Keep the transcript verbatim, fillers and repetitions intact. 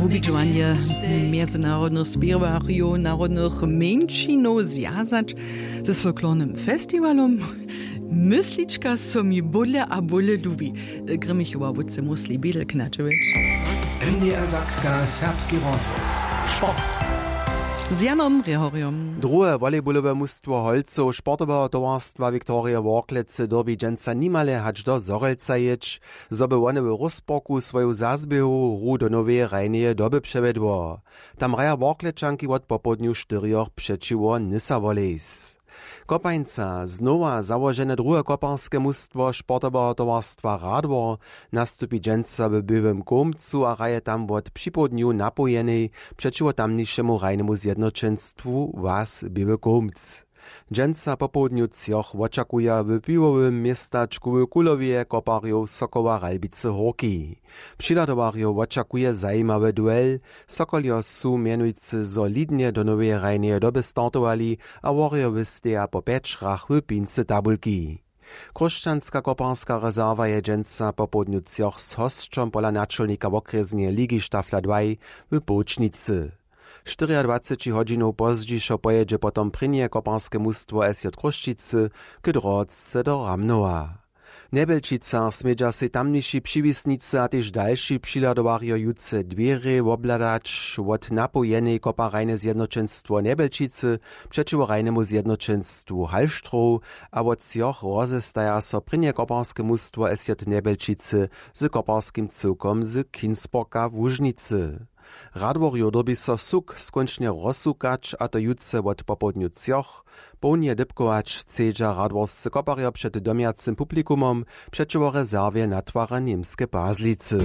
Wubědźowanje mjezynarodnych spěwarjow narodnych mjeńšinow zwjazać z folklornym festiwalom. Myslička so mi bóle a bóle lubi. Grimmichowa wótce musli bědel knatowjeć. N D R Sakska, serbski rozhłos. Sport. Z Janom Rjehorjom. Druhe volejbolowe mustwo holcow sportoweho towarstwa Viktorije Worklecy dyrbi dźensa nimale hač do Zhorjelca jěć, zo by wone w Rózporku swoju zazběhu hru do noweje hrajneje doby přewjedło. Tam hraja Worklečanki wot popołdnju štyrjoch přećiwo Nysa Wolejs. Kopańca, znowa załožene druhe koparske mustwo sportoweho towarstwa Radwor, nastupi dźensa w Běłym Kołmcu a hraje tam wot připołdnju napołjenej přećiwo tamnišemu hrajnemu zjednoćenstwu Was Běły Kołmc. Dźensa popołdnju třoch wočakuja w piwowym městačku w Kulowje koparjow Sokoła Ralbicy Hórki. Přihladowarjow wočakuje zajimawy duel. Sokoljo su mjenujcy solidnje do noweje hrajneje doby startowali a Worjo wysteja po pjeć hrach w pincy tabulki. Chróšćanska koparska rezerwa je dźensa popołdnju třoch z hosćom pola načelnika wokrjesneje ligi Štafla dwaj w Połčnicy. Štyriadwaceći hodźinow pozdźišo pojědźe potom prěnje koparske mustwo S J Chrósćicy k Drotce do Ramnowa. W Njebjelčicach smědźa sej tamniši přiwisnicy a tež dalši přihladowarjo jutře dwěrje wobhladać. Wot napołjenej kopa hrajne zjednoćenstwo Njebjelčicy přećiwo hrajnemu zjednoćenstwu Hallstrow a wot třoch rozestaja so prěnje koparske mustwo S J Njebjelčicy z koparskim cyłkom z Kinsborga w Łužnicy. Radworjow dyrbi so suk skónčnje rozsukać, a to jutře wot popołdnju třoch. Połdnje dypkować chcedźa radworscy koparjo před domjacym publikumom přećiwo rezerwje natwara Němske Pazlicy.